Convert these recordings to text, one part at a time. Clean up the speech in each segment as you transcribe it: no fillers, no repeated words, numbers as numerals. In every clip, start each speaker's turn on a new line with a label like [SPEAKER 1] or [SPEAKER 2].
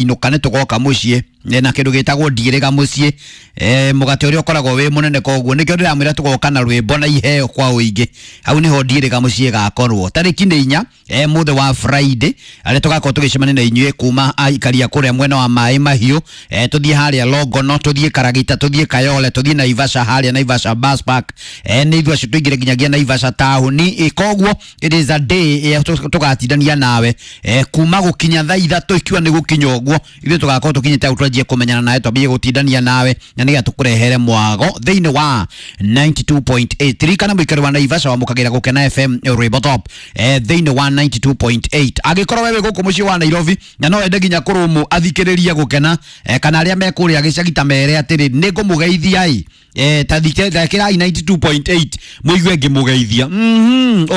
[SPEAKER 1] Inuka nĩ tũgoka mũciĩ na kĩndũ gĩtagwo ndigĩrĩga mũciĩ, mũgate ũrĩa ũkoragwo wĩ mũnene. Koguo nĩkĩo ndĩramwĩra tũgoka na rwĩmbo na iheo kwa ũingĩ. Hau nĩho ndigĩrĩga mũciĩ gakorwo tarĩki nĩ 4, mũthĩ wa Friday, arĩa tũgakorwo tũgĩcemania na inyuĩ kuma aikaria kũrĩa mwena wa Maĩ Mahiũ, tũthiĩ harĩa Longono, tũthiĩ Karagita, tũthiĩ Kayole, tũthiĩ Naivasha, harĩa Naivasha bus park, nĩ ithuĩ acio tũingĩre nginyagia Naivasha taũni. Koguo it is a day tũgatindania nawe, kuma gũkinya thaa 3, ikiwa nĩ gũkinya ũguo ithuĩ tũgakorwo tũkinyĩte hau, twanjie kũmenyana nawe, twambie gũtindania nawe na nĩgetha tũkũrehere mwago thĩinĩ wa 92.8. Ririkana mũikari wa Naivasha wamũkagĩra Gũkena FM rwĩmbo top, thĩinĩ wa 92.8. Angĩkorwo wewe gũkũ mũciĩ wa Nairobi na no wende nginya kũrũmũ athikĩrĩrie Gũkena, kana arĩa me kũrĩa gĩcagi, ta mere atĩrĩ nĩ ngũmũgeithia ĩ, ta thikĩrai 92.8 mũigue ngĩmũgeithia,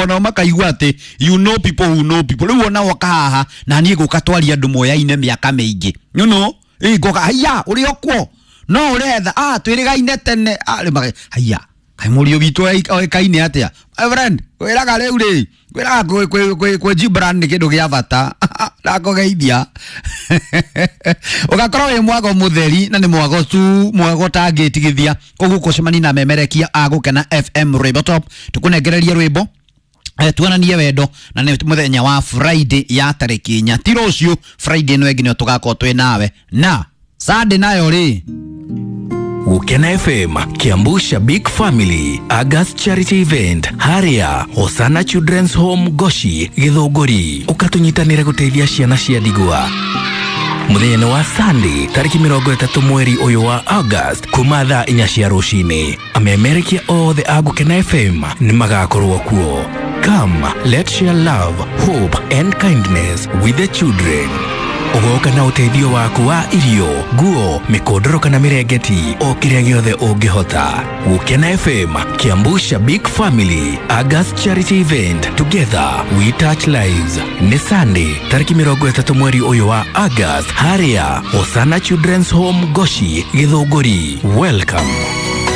[SPEAKER 1] onao makaigua atĩ you know people who know people. Rĩu ona woka haha na niĩ gũka twaria andũ moyaine mĩaka mĩingĩ, ĩ ngoka haiya ũrĩ okuo no ũretha twĩrĩgaine tene, haiya kaĩ mũriũ witũ oĩkaine atĩa. My friend, kwĩraga rĩu rĩ, kwĩraga kwĩ Gibran nĩ kĩndũ gĩa bata. Ndakũgeithia ũgakorwo wĩ mwago mũtheri na nĩ mwago tu, mwago tangĩtigithia. Koguo kũcemania na memerekia a Gũkena FM rwĩmbo top, tũkũnengererie rwĩmbo, tuonanie wendo, na nĩ mũthenya wa Friday ya tarĩki 4, ti rũciũ, Friday ĩno ĩngĩ nĩyo tũgakorwo twĩ nawe na Sunday nayo rĩ.
[SPEAKER 2] Gukena FM Kiambu Shabik Family August Charity Event haria Hosana Children's Home Goshi Githunguri, ũkatũnyitanĩre gũteithia ciana cia ndigwa. Mũthenya wa Sunday tarĩki 30 mweri ũyũ wa August kuma thaa 4 cia rũcinĩ, amemerekia othe a Gũkena FM nĩ magakorwo kuo. Come, let's share love, hope and kindness with the children. Ũgoka na ũteithio waku wa irio, nguo, mĩkondoro kana mĩrengeti, o kĩrĩa gĩothe ũngĩhota. Gũkena FM Kiambu Shabik Family August Charity Event, together we touch lives. Nĩ Sunday tarĩki 30 mweri ũyũ wa August harĩa Hosana Children's Home Goshi Githunguri. Welcome.